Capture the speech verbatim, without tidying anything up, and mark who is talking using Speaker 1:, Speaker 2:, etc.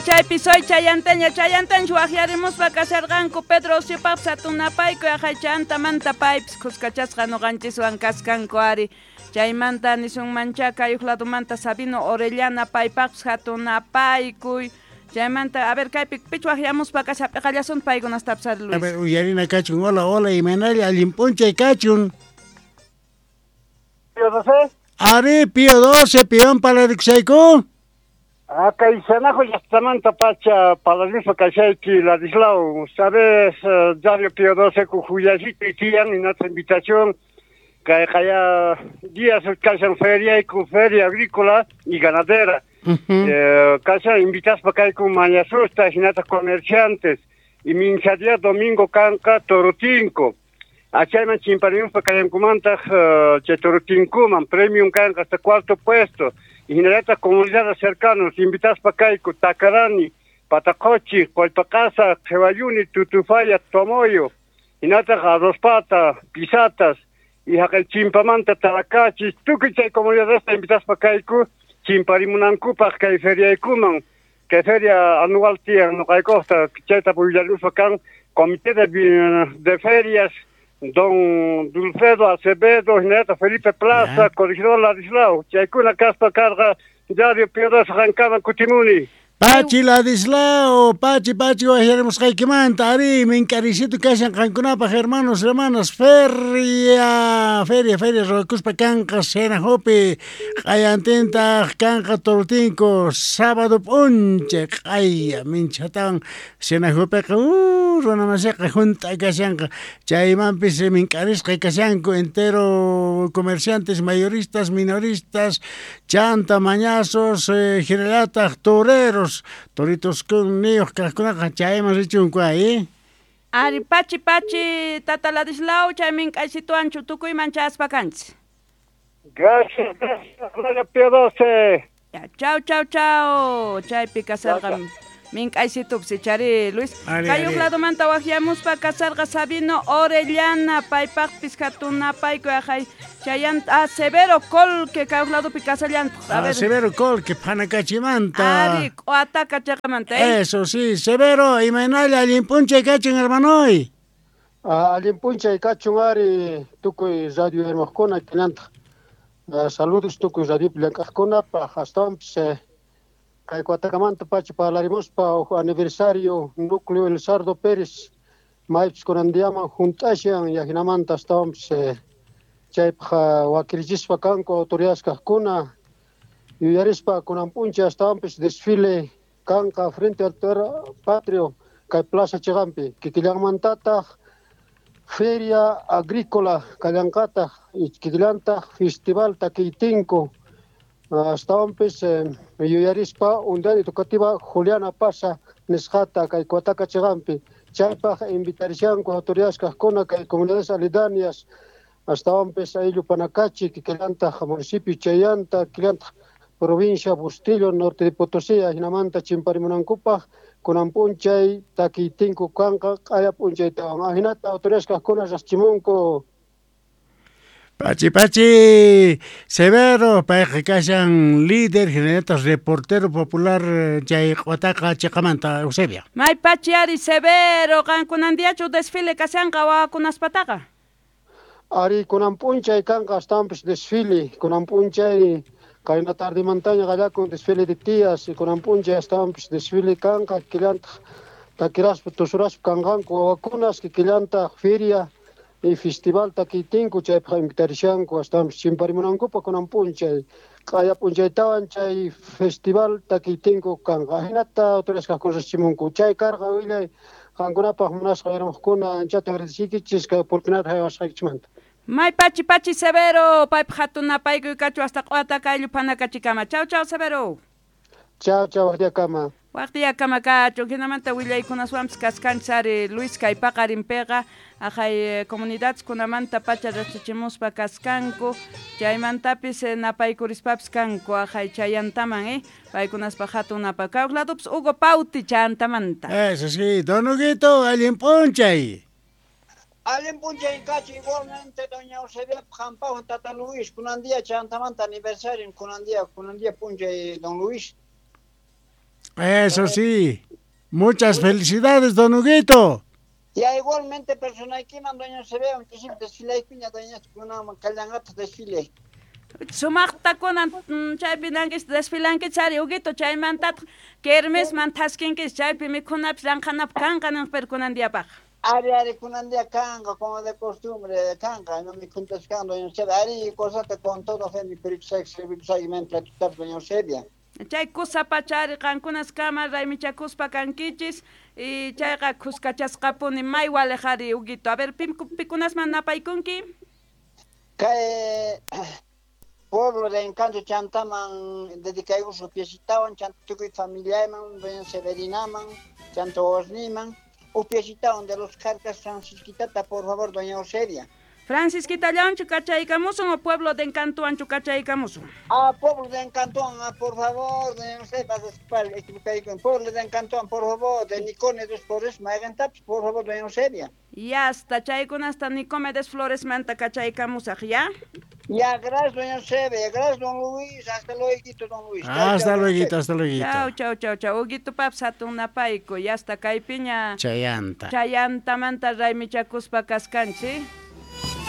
Speaker 1: Chaypi soy chayanteña chayantenchu waqyarimuspa kasharqanku Pedro Osiopaqpis hatun napaykuy aqhay chantamanta paypis khuskachasqa ñuqanchiswan kaskanku ari chaymanta nisunmancha kay huk ladumanta Sabino Orellana paypaqpis hatun napaykuy chaymanta a ver kaypi pich waqyamuspa kasha p'iqallasun paykunastapis ari Luis.
Speaker 2: A ver uyarina kachun hola hola imaynalla allin p'unchay kachun.
Speaker 3: Pío doce.
Speaker 2: Ari Pío doce piwan parlarikusayku.
Speaker 3: Kay Xenajo llaqtamanta pacha parlarispa kashayki Ladislao, sabes Radio Pío doce kujuyallito tiyan inata invitación kay kaya días kashan feria y feria agrícola y ganadera. Uh -huh. eh, kashan invitaspa kayku mañasusta hinata comerciantes y mincha día domingo kanqa Torotinco. Achayman chimparimuspa kayankumantaq uh, chay Torotinkuman premium kanqa hasta cuarto puesto. Y hinallataq comunidades cercanos invitaspa kayku Tacarani, Patacochi, Qollpaqasa, Qhiwayuni, Tutufaya, Tomoyo, hinataq Arrospata, Pisatas y haqay chimpamanta Taracachis, tukuy chay comunidadesta invitaspa kayku chimparimunankupaq kay feriaykuman, kay feria anual tiyan nuqaykuqta chayta pullaluspa kan comité de, de ferias don Dulfredo Acevedo, hinallataq Felipe Plaza, corregidor Ladislao, chaykuna kaspa karqa Radio Pío doce qankaman kutimuni.
Speaker 2: Pachi Ladislao, Pachi, Pachi, waqyarimusqaykimanta, ari, mink'arisitu kashan qankunapaq hermanos, hermanas, feria, feria, feria, ruwakuspa kanqa Xenajopi, q'ayantintaq kanqa Torotinco, sábado p'unchay, q'aya, minchatawan Xenajopiqa, uh, runamasiqa hunt'a kashanqa, chaymanpis mink'arisqa kashanku entero comerciantes, mayoristas, minoristas, chanta, mañazos, eh, hinallataq toreros, toritos niyuq kaqkunaqa chayman richunku ahí.
Speaker 1: Ari pachi pachi tata Ladislao chay mink'aysituanchu tukuyman chaspa kanchis.
Speaker 3: Gracias, gracias, Radio Pío doce.
Speaker 1: Ya, chau, chau, chau. Chaypi kasarqa mink'aysitupis chari Luis. Kay huk ladumanta waqyamuspa kasarqa Sabino Orellana paypaqpis hatun napaykuy aqhay chayanta ah, Severo Colque kay huk ladupi kasallantaq.
Speaker 2: A ver. Ah, Severo Colque Phanacachimanta.
Speaker 1: Ari Q'uataca chaqamanta, eh?
Speaker 2: Eso sí, Severo, imaynalla allin p'unchay kachun hermanoy.
Speaker 4: Ah, allin p'unchay kachun ari tukuy radio hermajkuna kinantaq. Uh, saludos tukuy radiopi llank'aqkunapaq astawanpis eh, kay Q'uatacamanta pacha parlarimuspa huk aniversario núcleo El Sardo Pérez maypis kunan diaman hunt'ashan yajinamanta astawanpis eh, chaypaq wakirichispa kanku autoridades kaqkuna yuyarispa kunan p'unchay astawanpis desfile kanqa frente al patrio kay plaza chiqanpi kikillanmantataq feria agrícola kallanqataq kikillantaq festival takiytinku astawanpis eh, yuyarispa unidad educativa Juliana Pasa nisqata kay Q'uataca chiqanpi chaypaq invitarishanku autoridades kaqkuna kay comunidades aledañas astawanpis ayllu Panacachi kikillantaq municipio Chayanta kikillantaq provincia Bustillo norte de Potosí hinamanta chimparimunankupaq kunan p'unchay takiytinku kanqa q'aya p'unchaytawan ahinata autoridades kaqkuna raschimunku.
Speaker 2: Pachi, pachi, Severo, payqa kashan líder, hinallataq reportero popular chay Q'uataca chiqamanta, Eusebia.
Speaker 1: May pachi ari Severo, qankunan diachu desfile kashanqa wawakunaspataqa.
Speaker 4: Ari kunan p'unchay kanqa astawanpis desfile, kunan p'unchay qayna tardimantaña qallakun desfile de tías, y kunan p'unchay astawanpis desfile kanqa kikillantaq takiraspa tusuraspa kanqanku wawakunas kikillantaq feria y festival takiytinku chaypaq invitarishanku astawanpis chimparimunankupaq kunan p'unchay q'aya p'unchaytawan chay festival takiytinku kanqa hinata autoridades kaqkuna riqsichimunku chay karqa willay qankunapaq munasqa hermanokuna anchata agradeciykichis kay oportunidad haywasqaykichikmanta.
Speaker 1: May pachi pachi Severo, paypaq hatun napaykuy kachu hasta Q'uataca ayllu Phanacachikama. Chau chau Severo.
Speaker 4: Chau chau waqtiyakama.
Speaker 1: Waqtiyakama kachun hinamanta willaykunaswanpis kaskanchis ari Luis kay paqarinpiqa aqhay comunidades kunamanta pacha riqsichimuspa kaskanku chaymantapis napaykurishpapis kanku aqhay chayantaman eh paykunaspaq hatun napay kay huk ladupis Hugo Pauti chantamanta.
Speaker 2: Eso sí, don Huguito, allin p'unchay.
Speaker 5: Allin p'unchay kachu igualmente doña Eusebia qampaqwan tata Luis kunan día chantamanta aniversario kunan día kunan día p'unchay don Luis.
Speaker 2: Eso sí. Muchas felicidades, don Huguito.
Speaker 5: Ya igualmente personaykiman doña Eusebia, muchísimo desfilaykuña doña kunaman kallangata desfile.
Speaker 1: Sumaqta kunan chaypi nankis desfilankichis ari Huguito, chaymantataq kermesman thaskinkichis chaypi mikhunapis ranqhanapaq kanqa ninqpiri kunan diyapaq.
Speaker 5: Ari ari kunan día kanqa como de costumbre kanqa no mikhuntas kan doña Eusebia, ari cosata con todo fe mi peripsag doña Eusebia.
Speaker 1: Chay kusapacha ari qankunas kama raymichakuspa kankichis y chayqa kuskachasqapuni may waliq ari Huguito. A ver, pikunasman napaykunki?
Speaker 5: Kay pueblo de Encanto chantaman dedicayku upiasitawan chanta tukuy familiayman doña Severinaman chanta Osniman upiasitawan de los Carcas Francisquitata, por favor, doña Eusebia.
Speaker 1: Francisquitallawanchu kachaykamusun o pueblo de Encantowanchu kachaykamusun?
Speaker 5: Ah, pueblo de Encantowan, por favor, doña Eusebia, equivocayku. Pueblo de Encantowan, por favor, de Nicomedes Flores, maygantapis, por favor, doña Eusebia.
Speaker 1: Ya hasta chaykunasta Nicomedes Flores manta kachaykamusaq, ¿ya?
Speaker 5: Ya, gracias, doña Eusebia, gracias, don Luis, hasta luego, don Luis.
Speaker 2: Hasta luego, hasta luego.
Speaker 1: Chau, chau, chau, chau. Huguito paps hatun napayku, ya hasta kaypiña.
Speaker 2: Chayanta.
Speaker 1: Chayantamanta raymichakuspa kaskanchis.